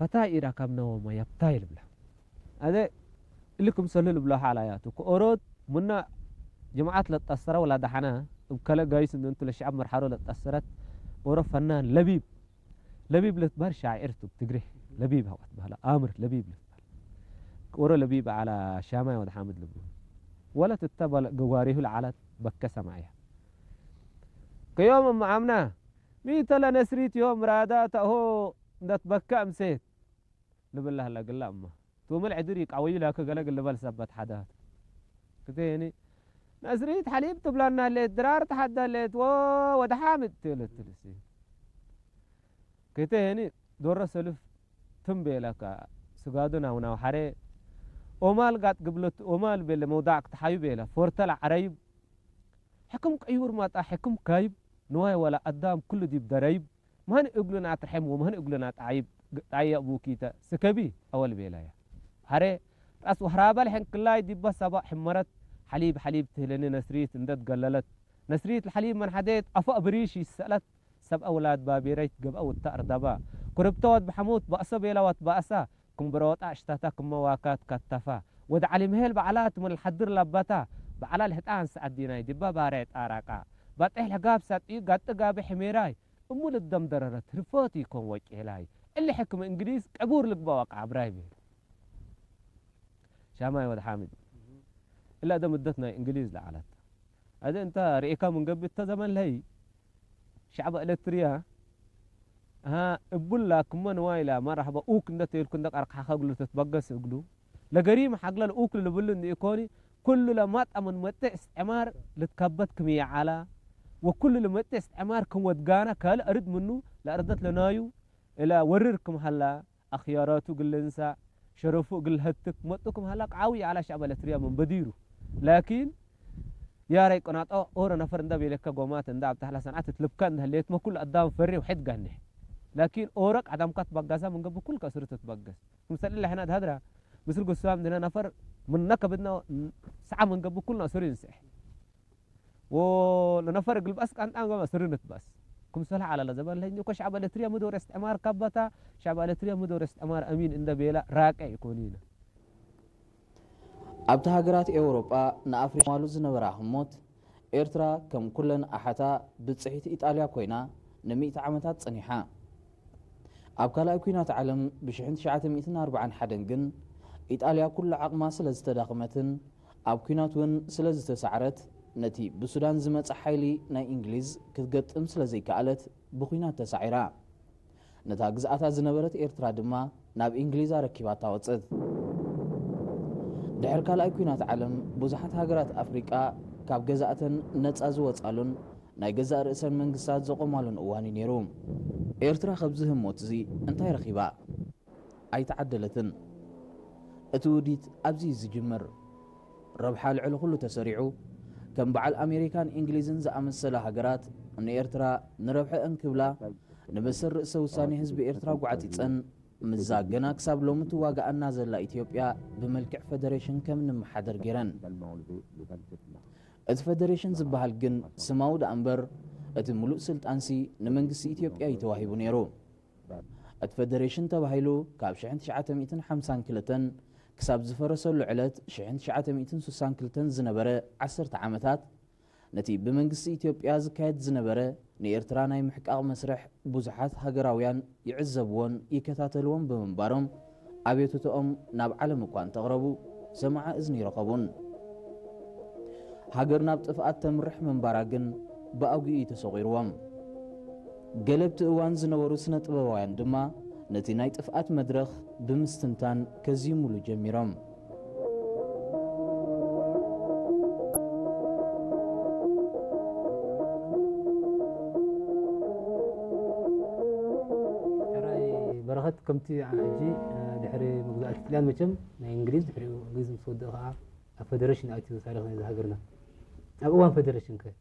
ኣታ ኢራ ካብ ነወማ ያብታ ይልብላ። ኣደ እልኩም ሰሉ ልብላ ሓላ ያቱ። ከኦሮት ሙና ጀማዓት ለጣሰረ ወላ ደሓና እብ ከለ ጋይስ እንንቱ ለሸዓብ መርሓሮ ለጣሰረት ኦሮ ፈናን ለቢብ። ለቢብ ለትባር ሻዒር ቱ ትግሬ። ለቢብ ሃዋት ባህላ ኣምር ለቢብ ለትባር። ኦሮ ለቢብ ዓላ ሻማይ ወደ ሓምድ ልብሉ። ወለት እተበለ ገዋሪሁ ለዓላት በከ ሰማያ። ከዮም እማ ኣምና ሚተለ ነስሪት ዮም ራዳ ተሆ እንደትበከ እምሴት። ልብላ ህላ ግላ እማ። ቱምል ዕድር ይቃወዩ ላከ ገለ ግልበል ሰበት ሓዳት። ክቴኒ ነስሪት ሓሊብ ትብላና ሌት ድራር ተሓዳ ሌት ወ ወደ ሓምድ ትልትልሲ። ክቴኒ ዶረ ሰልፍ ትም ቤለካ ስጋዱ ናው ናው ሓሬ ኦማል ጋጥ ግብለት ኦማል ቤለ መውዳዕ ክትሓዩ ቤለ ፎርተል ዓረይብ ሕክም ቀዩር ማጣ ሕክም ካይብ ንዋይ ወላ ኣዳም ኩሉ ዲብ ደረይብ ማን እግሉና ትርሐም ወማን እግሉና ጣይብ ጣያ ቡኪተ ስከቢ ኣወል ቤላያ። ሓሬ ራስ ወህራበል ሕንክላይ ዲባ ሰባ ሕመረት ሓሊብ ሓሊብ ትህለኒ ነስሪት እንደት ገለለት ነስሪት ለሓሊብ መን ሓዴት ኣፋ ብሪሽ ይሰለት ሰብ ኣውላድ ባቢረይት ገብአ ውታ እርዳባ ኩርብተወት ብሐሙት ባእሰ ቤላወት ባእሳ ክምብረወጣ እሽታታ ክመዋካት ካታፋ ወድ ዓሊ ምሄል በዓላት ምን ለሐድር ለባታ በዓላ ልህጣን ሰዓዲናይ ዲባ ባሬ ጣራቃ ባጤሕ ለጋብ ሳጥዩ ጋጥ ጋቢ ሕሜራይ እሙ ልደም ደረረት ርፎት ይኮን ወቄላይ እሊ ሕክም እንግሊዝ ቀቡር ልግባ ወቃ ኣብራይ ቤል ሻማይ ወድ ሓሚድ እላ ደ ምደት ናይ እንግሊዝ ለዓላት ኣደ እንታ ርኤካ ምን ገብት ተዘመን ለይ ሸዕብ ኤለትርያ እቡላ ክመ ንዋይላ መራሕባ ኡክ እንደ ተይልኩ እንደ ቀርቅሓኸ እግሉ ተትበገስ እግሉ ለገሪም ሓግለ ለኡክ ልብሉ እንዲ ኢኮኒ ኩሉ ለማጣ ምን መጤ እስትዕማር ልትከበት ክም ይዓላ ወኩሉ ለመጤ እስትዕማር ክም ወድጋና ካልእ ኣርድ ምኑ ለኣርደት ለናዩ እላ ወርር ክም ሃላ ኣኽያራቱ እግል ልንሳእ፣ ሸረፉ እግል ልሀትክ መጡ ክም ሀላ ቃዊ ዐላ ሸዕብ ኤለትርያ ምን በዲሩ። ላኪን ያረይ ቅናጦ ኦረ ነፈር እንዳ ቤለከ ጎማት እንዳ ኣብ ታሕላ ሰንዓት ትልብካ እንዳ ህሌትመ ኩሉ ኣዳም ፈሪ ውሕድ ጋኔሕ። ላኪን ኦረ ቀደምካ ትባጋሳ ምን ገብእ ኩልከ እስሩ ትትባገስ። ክምሰል እለ ሕና ድሀድራ ምስል ጉሳም ድነ ነፈር ምነ ከብድና ሰዓ ምን ገብእ ኩልና እስሩ ይንስሕ። ወለነፈር እግል በአስ ቃንጣን ገባ ስርንት በአስ ክምሰልሃ ዐለ ለዘበን ለህኝ እኮ ሸዕብ ኤለትርያ ምዶር እስትዕማር ካባታ ሸዕብ ኤለትርያ ምዶር እስትዕማር አሚን እንደ ቤላ ራቀ ይኮኒነ። ኣብቲ ሃገራት ኤውሮጳ ንኣፍሪቃ ማሉ ዝነበራ ህሞት ኤርትራ ከም ኩለን ኣሓታ ብጽሒት ኢጣልያ ኮይና ንሚእቲ ዓመታት ጸኒሓ። ኣብ ካልኣይ ኲናት ዓለም ብሽሕን ትሽዓተ ሚእትን ኣርባዓን ሓደን ግን ኢጣልያ ኩሉ ዓቕማ ስለ ዝተዳኸመትን ኣብ ኲናት እውን ስለ ዝተሳዕረት ነቲ ብሱዳን ዝመጸ ሓይሊ ናይ እንግሊዝ ክትገጥም ስለ ዘይከኣለት ብኲናት ተሳዒራ። ነታ ግዝኣታ ዝነበረት ኤርትራ ድማ ናብ እንግሊዝ ኣረኪባታ ወጸት። ድሕሪ ካልኣይ ኲናት ዓለም ብዙሓት ሃገራት ኣፍሪቃ ካብ ገዛእተን ነጻ ዝወጻሉን ናይ ገዛእ ርእሰን መንግስታት ዘቖማሉን እዋን እዩ ነይሩ። ኤርትራ ከብዚ ህሞት እዚ እንታይ ረኺባ? ኣይተዓደለትን። እቲ ውዲት ኣብዚ እዩ ዝጅምር። ረብሓ ልዕሊ ኩሉ ተሰሪዑ፣ ከም በዓል ኣሜሪካን እንግሊዝን ዝኣመሰላ ሃገራት ንኤርትራ ንረብሐአን ክብላ ንመሰል ርእሰ ውሳኔ ህዝቢ ኤርትራ ጓዕጺጸን ምስዛ ገና ክሳብ ሎሚ ትዋጋኣና ዘላ ኢትዮጵያ ብመልክዕ ፈደሬሽን ከም እንመሓደር ገይረን። እቲ ፈደሬሽን ዝበሃል ግን ስማዊ ደኣ እምበር እቲ ምሉእ ስልጣንሲ ንመንግስቲ ኢትዮጵያ እዩ ተዋሂቡ ነይሩ። እቲ ፈደሬሽን ተባሂሉ ካብ ሽሕን ትሽዓተ ሚእትን ሓምሳን ክልተን ክሳብ ዝፈረሰሉ ዕለት ሽሕን ትሽዓተ ሚእትን ስሳን ክልተን ዝነበረ ዓሰርተ ዓመታት ነቲ ብመንግስቲ ኢትዮጵያ ዝካየድ ዝነበረ ንኤርትራ ናይ ምሕቃቕ መስርሕ ብዙሓት ሃገራውያን ይዕዘብዎን ይከታተልዎን ብምንባሮም ኣቤቱትኦም ናብ ዓለም እኳ እንተቕረቡ ሰማዒ እዝኒ ይረኸቡን። ሃገር ናብ ጥፍኣት ተምርሕ ምንባራ ግን ብኣጉኡ እዩ ተሰቒርዎም። ገለ ኣብቲ እዋን ዝነበሩ ስነ ጥበባውያን ድማ ነቲ ናይ ጥፍኣት መድረኽ ብምስትንታን ከዝይሙሉ ጀሚሮም። ሕራይ በረኸት ከምቲ ሕጂ ድሕሪ መግዛእቲ ጥልያን መቸም ናይ እንግሊዝ ድሕሪኡ እንግሊዝ ምስ ወደአ ከዓ ኣብ ፈደረሽን ኣትዩ ታሪኽ ናይዚ ሃገርና። ኣብ እዋን ፈደረሽን ከ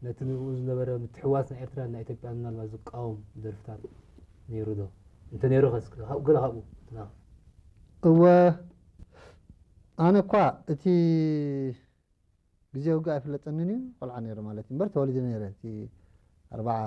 ነቲ ንኡ ዝነበረ ምትሕዋስ ናይ ኤርትራን ናይ ኢትዮጵያን ምናልባት ዝቃወም ደርፍታት ነይሩ ዶ? እንተ ነይሩ ከ እስከ ካብኡ ገለ ካብኡ ትናኻ። እወ ኣነ እኳ እቲ ግዜ ውግእ ኣይፍለጠንን እዩ ቆልዓ ነይረ ማለት እዩ እምበር ተወሊደ ነይረ እቲ ኣርባዓ